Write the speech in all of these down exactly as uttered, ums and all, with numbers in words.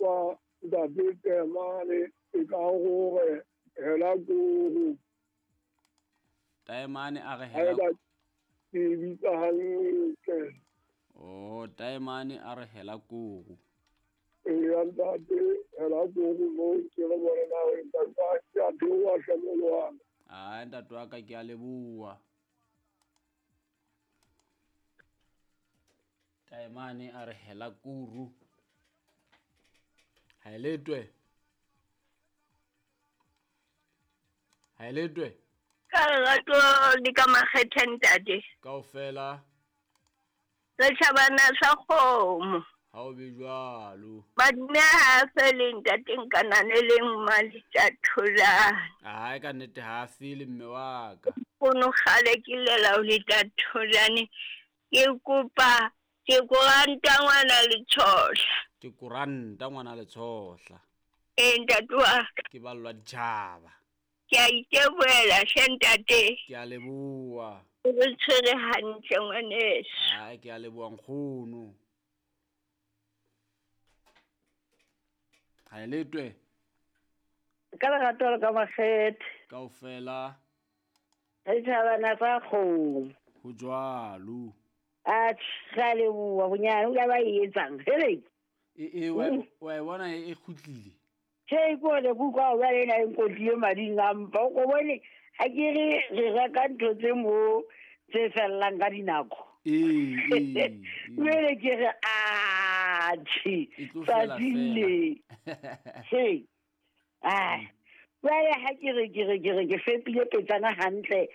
Kwa ntate Taemane e ka gore hela koro. Taemane a re hela ke bitsa hantle. Oh, Taemane a re hela koro. Ee ntate, hela koro mo ke re bone na re ntate ke a theoha hle molwana. Ah, ntate wa ka ke a leboha. Taemane a re hela kuru. Ha e letwe. Ha e letwe. Ka lerato le ka makgethe ntate. Kaofela. Setjhabana sa kgomo. Ha o be jwalo. Madume ha a fele ntate nkanane le mmaletsha tholane. Ai ka nnete ha a fele mme wa ka. Kono kgale ke llela o leta tholane. Ke kopa ke koranta ngwana Letshohla. Ke koranta ngwana Letshohla. Ee ntate wa ka. Ke ballwa ditjhaba. Ke a itebohela hle ntate. Ke a leboha. O re tshwere hantle ngwaneso. Ai ke a leboha nkgono. Ha e letwe. Ka lerato le ka makgethe. Kaofela. Setjhabana sa kgomo. Ho jwalo. Atjhe, re a leboha bonyane o ka ba e etsang. Hele. E e wa wa e bona e kgutlile. Tjhe, ke hore ke utlwa hore ena e nkotlile mading a mpa. O ko bone ha ke re re reka ntho tse mo tse fellang ka dinako. Ee, ee. Jwale ke re atjhe, E tlo fela tsatsing le. He. Ah. Jwale ha ke re ke re ke re ke fepile petsana hantle.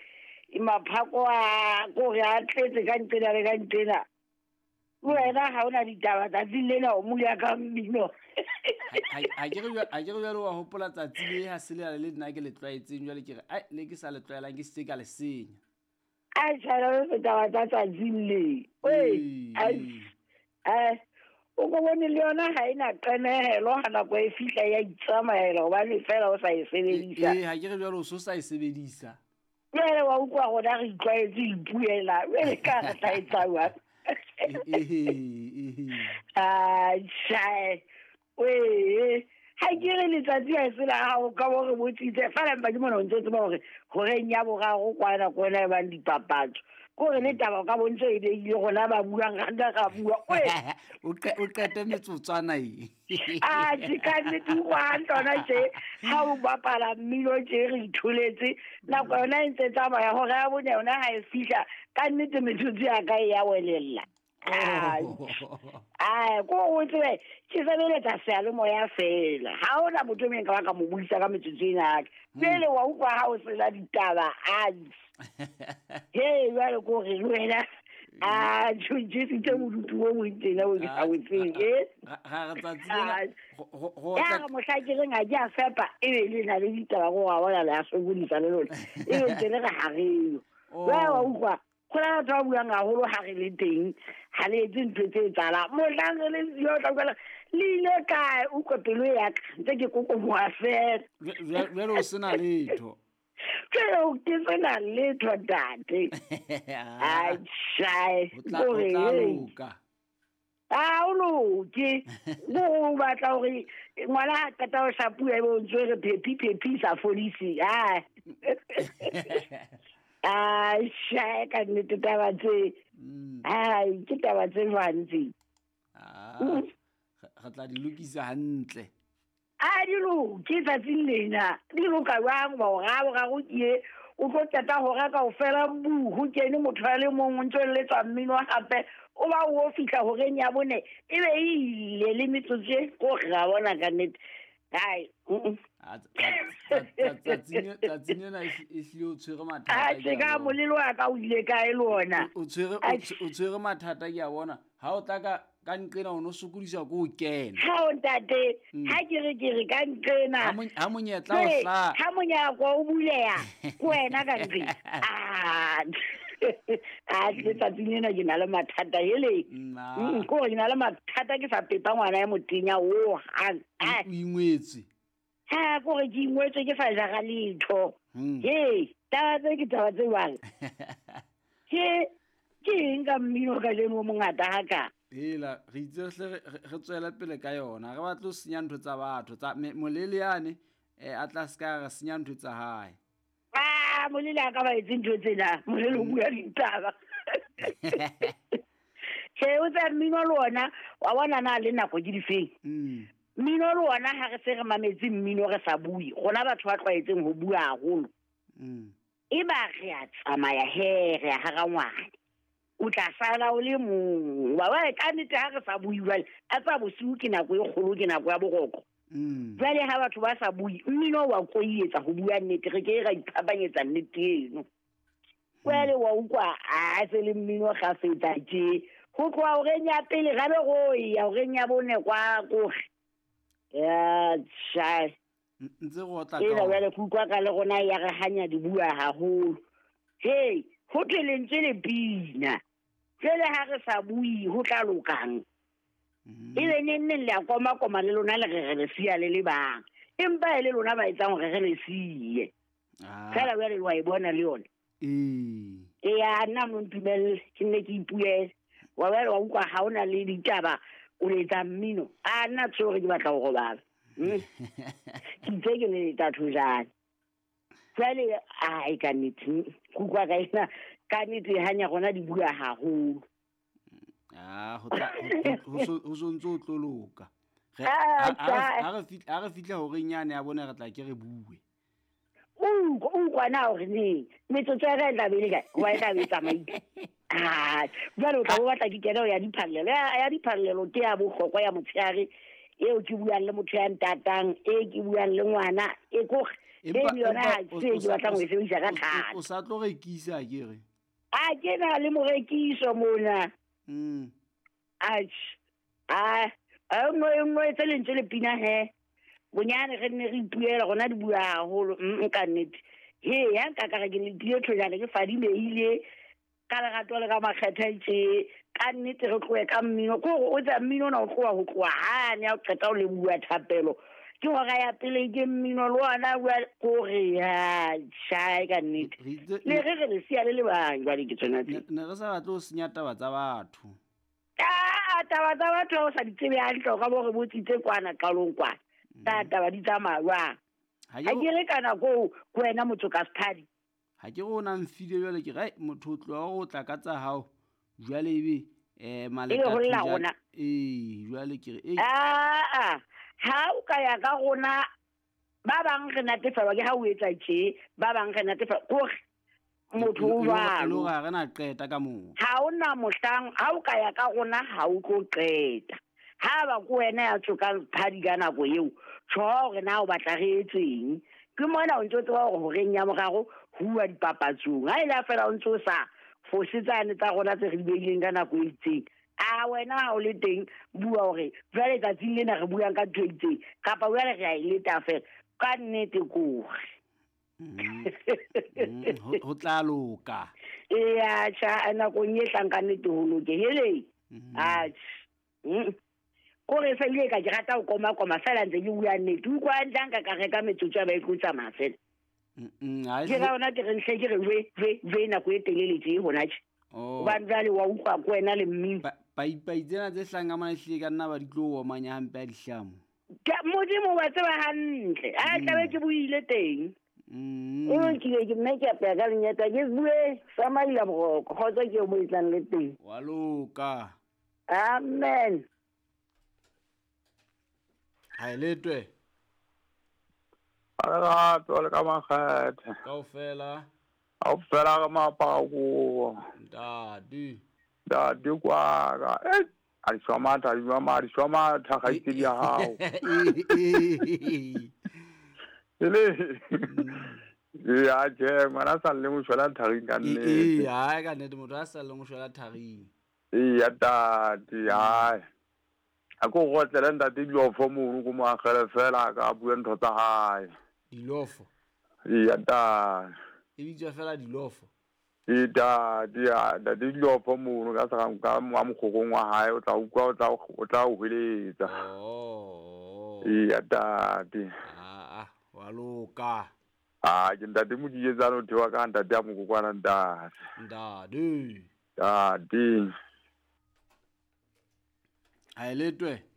Maphako a kore a tletse ka nqena le ka nqena. Wena ha ona ditaba tsatsing lena o mole ka mmino. Ha ke re ha ke re jwale wa hopola tsatsi le ha se le le nna ke le tlwaetseng jwale ke re ai le ke sa le tlwaelang ke se ka le senya. A tjhara le taba tsa tsatsing le. Oi, ai o ko bone le yona ha ena qenehelo ha nako e fihla ya itsamaela hobane fela o sa e sebedisa. Eh ha ke re jwale o so sa e sebedisa. Jwale wa utlwa rona re itlwaetse ipuela jwale ka re tla etsa jwang? Atjhe, wee ha ke re letsatsi ha se la hao ka bo re botsitse fela mpa ke mona o ntse o tseba hore horeng ya boraro kwana kwana e bang dipapatso. Kore le taba ka bontse e beile rona ba buang ra nka ra bua. O o qete metsotswana e. Atjhe ka nnete o utlwa hantle hona tje ha o bapala mmino tje re itholetse nako yona e ntse tsamaya hora ya bone yona ha e fihla ka nnete metsotso ya ka e ya welella. Ai ko o tsebe ke sebeletsa seyalemoya fela. Ha hona motho e mong ka ba ka mo buisa ka metsotso ena ya ka. Pele wa utlwa ha o sena ditaba atjhe. He jwale ko re le wena a tjhentjhisitse bodutu bo bong tjena bo ke sa bo tsebeng, eh? Ra re tsatsi lena go Ya re mohla ke reng ha ke a fepa ebe le na le ditaba go wa bona le a sokodisa le lona. Ebe ntse le re ha re yo. Jwale wa utlwa ho na batho ba buang haholo ha re le teng ha le etse ntho tse etsahalang. Mohlang re le siyo o tla utlwa le ile kae utlwa pelo ya ka ntse ke kokomoha fela. Jwale o sena letho. Jwale ke sena letho ntate. Atjhe, O tla o tla loka. Ha o loke. O batla hore ngwana ha qeta ho shapuwa ebe o ntso re phephi phephi sa fodise. Ah. Atjhe, ka nnete taba tse. Ai, ke taba tse jwang tse? Ah. Re tla di lokisa hantle. A di loke tsatsing lena. Di loka jwang hoba hora boraro ke e o tlo qeta hora kaofela bu ho kene motho a le mong o ntso letsa mmino hape o ba o fihla horeng ya bone ebe e ile le metsotso e ko ra bona ka nnete. Hai. Tsatsing tsatsing ena e hlile o tshwere mathata. Atjhe ka molelo wa ka o ile kae le ona? O tshwere o tshwere mathata ke a bona. Ha o tla ka ka nqena o no sokodisa ko o kena. Ha o ntate, ha ke re ke re ka nqena. Ha monyetla o hla. Ha monyako o buleha ko wena ka nqena. Ah. Ah, tsatsing ena ke na le mathata hele. Ko ke na le mathata ke sa pepa ngwana ya motenya o hang. O ingwetswe. Ha ko re ke ingwetswe ke sa jara letho. He, taba tse ke taba tse jwang. Ke ke eng ka mmino ka jeno o mongata haka? Hela re itse hle re tswela pele ka yona, re batla ho senya ntho tsa batho tsa molele yane eh a tla ska re senya ntho tsa hae. Ah, molele a ka ba etse ntho tsena, molele o bua ditaba. Che o tsa mmino le ona wa bona na le nako ke difeng. Mm. Mmino le ona ha re se re mametse mmino re sa bue, rona batho ba tlwaetseng ho bua haholo. Mm. E ba re a tsamaya he re a hara ngwana. O tla sala o le mong. Wa wa ka nnete ha re sa bue jwale, a tsa bosiu ke nako e kgolo, ke nako ya boroko. Mm. Jwale ha batho ba sa bue, mmino wa koietsa ho bua nnete, re ke ra iphapanyetsa nnete eno. Jwale wa utlwa a se le mmino kgafetsa tje. Ho tloha horeng ya pele ra be ro ya horeng ya bone kwa kore. Ya tjha. Ntse go tla ka. Ena jwale ke utlwa ka le rona ya re hanya di bua haholo. Hey, ho thwe lentswe le pina. Jwale ha re sa bue ho tla lokang. E be neng neng le a koma koma le lona le re re le siya le le bang. Empa e le lona ba etsang hore re le siye. Fela jwale wa e bona le yona. Ee. Eya nna mo ntumelle ke nne ke ipuele. Wa ba wa utlwa ha ona le ditaba o letsa mmino. A nna tsore ke batla ho robala. Ke itse ke le tathojane. Jwale ai ka nnete kutlwa ka ena ka nnete hanya rona di bua haholo. Ah, ho tla ho so ntso tlo loka. Re ha re fitla ha re fitla horeng yane ya bona re tla ke re bue. O o kwana hore ne metsotso ya ka e tla be le kae? Wa e tla be tsamaile. Ah, jwale o tla bo batla ke kena ya diphallelo. Ya diphallelo ke ya bohlokwa ya motshehare eo ke buang le motho ya ntatang, e ke buang le ngwana, e ko e le yona ha se ke batlang ho e sebedisa ka thata. O sa tlo rekisa ke re? A ke na le morekiso mona. Mm. Atjhe. Ah, a nngwe e nngwe tse lentswe le pina he. Bonyane re nne re ipuela rona di bua haholo nka nnete. He ya nka ka re ke le tlie thojana ke fadimeile ka lerato le ka makgethe tje ka nnete re tlohe ka mmino. Ke hore o tsa mmino ona o tloha ho tloha hane ha o qeta ho le bua thapelo. Ke hora ya pele ke mmino le ona bua kore ya tjha ka nnete. Le re re le siya le le bang jwale ke tsona tse. Ne re sa batle ho senya taba tsa batho. Ah, taba tsa batho o sa di tsebe hantle ka bo re botsitse kwana qalong kwana. Ta taba di tsamaya jwang? Ha ke re ka nako ko wena motho ka sephadi. Ha ke re o na mfile jwale ke re motho o tloha o tla ka tsa hao jwale ebe eh maleka eh jwale ke re eh ah ha o ka ya ka rona ba bang re natefelwa ke ha o etsa tje, ba bang re natefelwa kore motho o jwalo ha re na qeta ka moo. Ha ona mohlang ha o ka ya ka rona ha o tlo qeta. Ha ba ko wena ya tsokang phadi ka nako eo tjho hore na o batla re etseng. Ke mona o ntse o tseba hore horeng ya moraro ho uwa dipapatsong. Ha ile fela o ntse o sa fosetsane tsa rona tse re di beileng ka nako e itseng. A wena ha o le teng bua hore jwale tsatsing lena re buang ka ntho e itseng kapa jwale re a e leta fela ka nnete kore. Ho tla loka. Eya tjha nakong e tlang ka nnete ho loke. Hele. Atjhe. Kore se ile ka ke rata ho koma koma fela ntse ke bua nnete. Utlwa hantle nka ka reka metsotso ya ba e tlo tsamaya fela. Mm ha ke ra ona ke re nhle ke re jwe jwe jwe nako e telele tje hona tje. Hobane jwale wa utlwa ko wena le mmino. Paipai tsena tse hlahang ka mona ehlile ka nna ba di tlo omanya hampe a dihlamo. Ka Modimo wa tseba hantle. A tlabe ke buile teng. Mm. O nkile ke mme ke apeya ka lenyata ke bue sa maila boroko kgotsa ke o mo etsang le teng. Wa loka. Amen. Ha letwe. Lerato le ka makgethe. Kaofela. Kaofela ka mapako. Ntate. Ntate kwaka. Eh, a di shwa matha, di shwa matha, di shwa matha kgaitsedi ya hao. Ele. Ya tjhe, ngwana sa le mo shwela tharing ka nnete. Ee, ha ka nnete motho a sa le mo shwela tharing. Ee, ya tate, hai. A ko gotlele ntate dilofo mono ko mo agele fela ka bua ntho tsa hae. Dilofo. Ee, ya tate. E bitswa fela dilofo. Ee, tate, ya ntate dilofo mono ka sa ka mo mokgokong wa hae o tla utlwa o tla o tla o hweletsa. Oh. Ee, ya tate. Ah ah, wa loka. Ah, ke ntate Modietsane o thewa ka ntate ya mokokwana ntate. Ntate. Ntate. Ha e letwe.